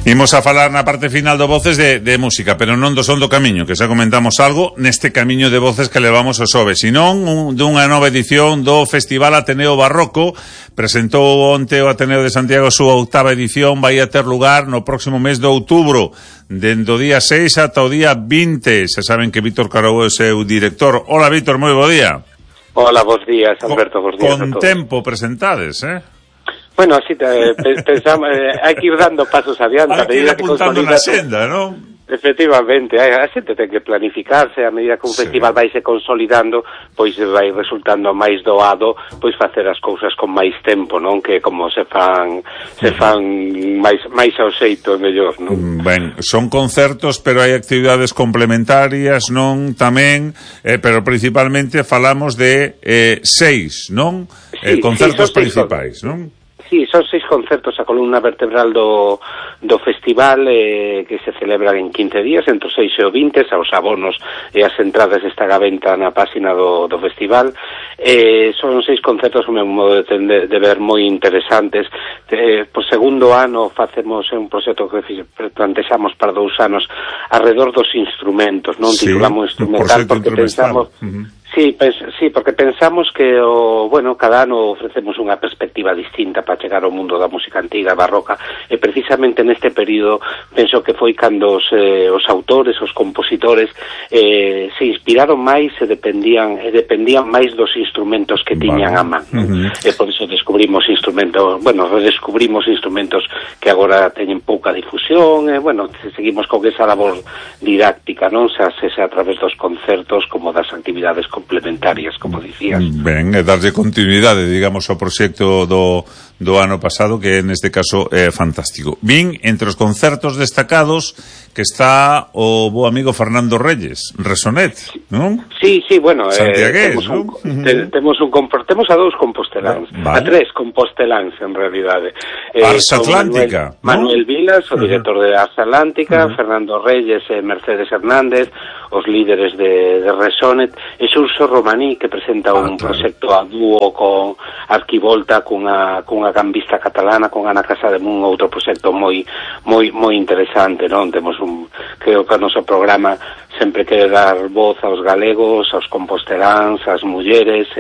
Imos a falar na parte final do Voces de música, pero non do son do camiño, que xa comentamos algo neste camiño de voces que levamos o xoves, senón dunha nova edición do Festival Ateneo Barroco. Presentou onte o Ateneo de Santiago a súa 8ª edición, vai a ter lugar no próximo mes de outubro, dende o día 6 ata o día 20. Se saben que Víctor Carou é o seu director. Hola, Víctor, moi bo día. Hola, bons días, Alberto, bons días a todos. Con tempo presentades, Bueno, así pensamos, hai que ir dando pasos adiante. Hai que ir apuntando na senda, non? Efectivamente, a xente ten que planificarse, a medida que un festival vai se consolidando, pois vai resultando máis doado, pois facer as cousas con máis tempo, non? Que como se fan máis ao xeito mellor, non? Ben, son concertos, pero hai actividades complementarias, non? Tamén, pero principalmente falamos de 6, non? Concertos principais, non? Sí, son 6 concertos, a columna vertebral do festival que se celebran en 15 días, entre o 6 e o 20, os abonos e as entradas están a venta na página do festival. Son 6 concertos, o meu modo de ver, moi interesantes. Por segundo ano facemos un proxecto que plantexamos para 2 anos alrededor dos instrumentos, non? Sí, titulamos instrumental porque pensamos... Sí, porque pensamos que cada ano ofrecemos unha perspectiva distinta para chegar ao mundo da música antiga, barroca, e precisamente neste período penso que foi cando os autores, os compositores se inspiraron máis e dependían máis dos instrumentos que tiñan a man. E por iso redescubrimos instrumentos que agora teñen pouca difusión, seguimos con esa labor didáctica, non? Xa a través dos concertos como das actividades complementarias, como dicías. Ben, e darlle continuidade, digamos, ao proxecto do ano pasado, que neste caso é fantástico. Vin entre os concertos destacados que está o bo amigo Fernando Reyes, Resonet, non? Sí, bueno, santiagués, temos a 2 composteláns, a 3 composteláns en realidade. Ars Atlántica, Manuel Vilas, o director de Ars Atlántica, Fernando Reyes e Mercedes Hernández, os líderes de Resonet, e Xurxo Romaní, que presenta un proxecto a dúo con Arquivolta, cunha gambista catalana, con Ana Casademún, outro proxecto moi interesante, non? Creo que o noso programa sempre quere dar voz aos galegos, aos composteláns, ás mulleres,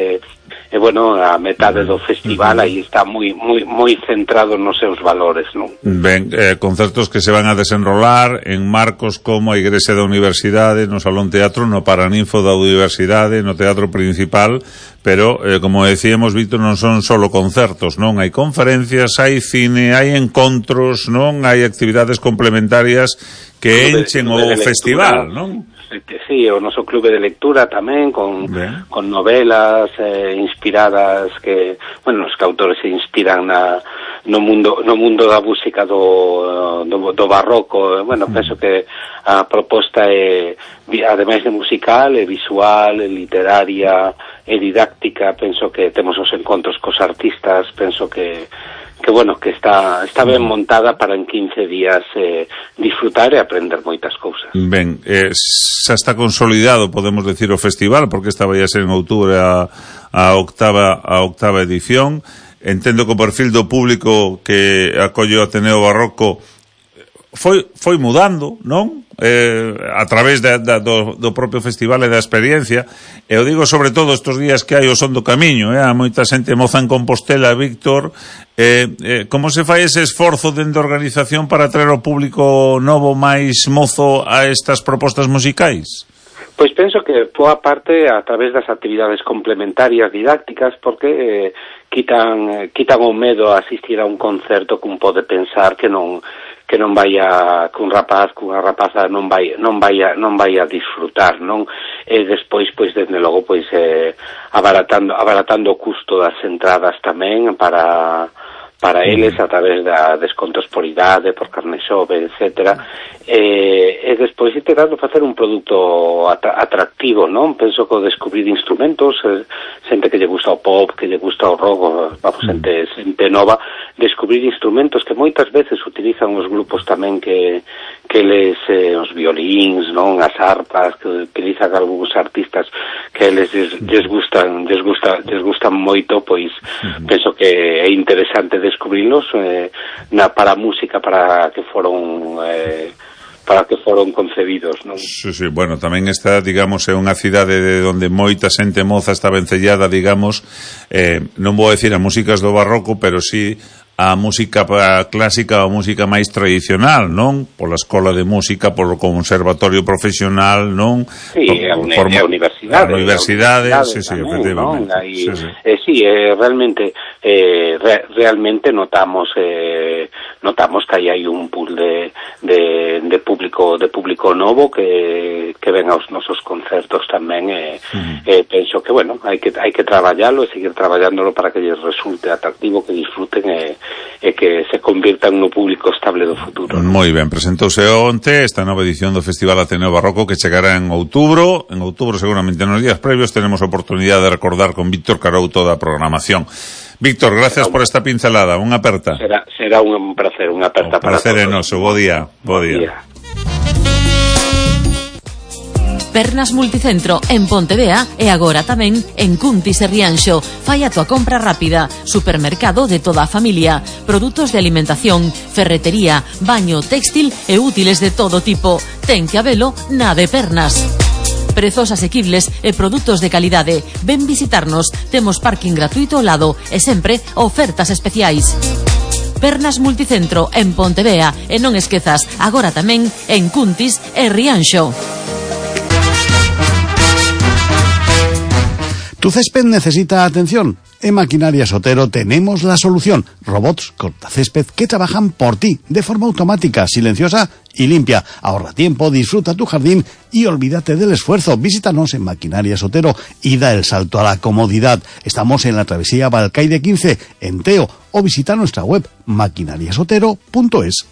a metade do festival aí está moi centrado nos seus valores, non? Ben, concertos que se van a desenrolar en marcos como a Igrexa da Universidade, no Salón Teatro, no Paraninfo da Universidade, no Teatro Principal, pero, como decíamos, Víctor, non son solo concertos, non? Hai conferencias, hai cine, hai encontros, non? Hai actividades complementarias que enchen o festival, non? Sí, o noso clube de lectura tamén, con novelas inspiradas que, os que autores se inspiran no mundo da música do barroco. Penso que a proposta é, ademais de musical, é visual, é literaria, é didáctica. Penso que temos os encontros cos artistas, penso que está ben montada para en 15 días disfrutar e aprender moitas cousas. Ben, xa está consolidado, podemos decir, o festival, porque esta vai a ser en outubro a octava edición. Entendo que o perfil do público que acolle o Ateneo Barroco foi mudando, non? A través do propio festival e da experiencia, e o digo sobre todo estes días que hai o son do camiño, a moita xente moza en Compostela, Víctor, como se fai ese esforzo dentro da organización para traer ao público novo máis mozo a estas propostas musicais? Pois penso que boa parte a través das actividades complementarias didácticas, porque quitan o medo a asistir a un concerto que un pode pensar que un rapaz, cunha rapaza non vai a disfrutar, non? E despois, desde logo, abaratando o custo das entradas tamén para eles, a través da descontos por idade, por carne xove, etcétera, e despois intentando facer un produto atractivo, non? Penso que descubrir instrumentos, xente que lle gusta o pop, que lle gusta o rock, xente nova, descubrir instrumentos que moitas veces utilizan os grupos tamén que os violíns, non, as arpas que utilizan algúns artistas que eles lles gustan moito, pois penso que é interesante descubrilos para a música para que foron concebidos, non? Sí, bueno, tamén está, digamos, é unha cidade de onde moita xente moza está vencellada, digamos, non vou decir a músicas do barroco, pero sí a música clásica, a música máis tradicional, non? Pola escola de música, polo conservatorio profesional, non? Sí, a universidade, sí, efectivamente. Realmente notamos que aí hai un pool de público novo que ven aos nosos concertos tamén, penso que, bueno, hai que traballalo e seguir traballándolo para que lles resulte atractivo, que disfruten e que se convirtan no público estable do futuro. Moi ben, presentouse onte esta nova edición do Festival Ateneo Barroco que chegará en outubro. En outubro, seguramente nos días previos, tenemos a oportunidade de recordar con Víctor Carou toda a programación. Víctor, gracias por esta pincelada, unha aperta. Será un placer, unha aperta para todos. Placer é noso, bo día. Pernas Multicentro en Pontevea e agora tamén en Cuntis e Rianxo. Fai a tua compra rápida. Supermercado de toda a familia. Produtos de alimentación, ferretería, baño, textil e útiles de todo tipo. Ten que habelo na de Pernas. Prezos asequibles e produtos de calidade. Ven visitarnos. Temos parking gratuito ao lado e sempre ofertas especiais. Pernas Multicentro en Pontevea e non esquezas, agora tamén en Cuntis e Rianxo. ¿Tu césped necesita atención? En Maquinarias Otero tenemos la solución. Robots cortacésped que trabajan por ti de forma automática, silenciosa y limpia. Ahorra tiempo, disfruta tu jardín y olvídate del esfuerzo. Visítanos en Maquinarias Otero y da el salto a la comodidad. Estamos en la travesía Balcaide 15, en Teo, o visita nuestra web maquinariasotero.es.